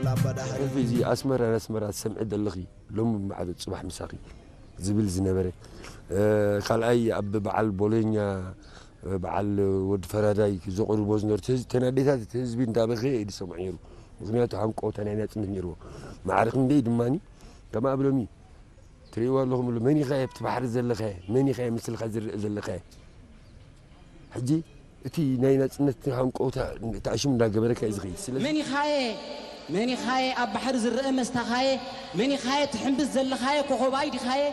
ሕልፊ እዚ ኣስመራ ንኣስመራ ትሰምዒ ዘለኺ ሎሚ ማዕዶ ጽባሕ ምሳኺ ዝብል ዝነበረ፣ ካልኣይ ኣብ በዓል ቦሎኛ በዓል ወዲ ፈራዳይ ዘቕርቦ ዝነበሩ ተናዴታት እቲ ህዝቢ እንዳበኸየ እዩ ዝሰምዖ ነይሩ። ምክንያቱ ሃንቀውታ ናይ ናጽነት ነይርዎ። ማዕረ ክንደይ ድማ ከም ኣብ ሎሚ ትርእይዎ ኣለኹም ኣሎ መን ኢኻ ኣብቲ ባሕሪ ዘለኸ? መን ኢኻ ምስልካ ዝርእ ዘለኸ? ሕጂ እቲ ናይ ናጽነት ሃንቀውታ ተኣሽም እንዳገበረካ እዩ ዝኸይድ። ስለዚ መን ኢኻየ መን ኢኻየ ኣብ ባሕሪ ዝረአ መስታኻየ? መን ኢኻየ ትሕምብስ ዘለኻየ ኮኾብ ኣይ ዲኻየ?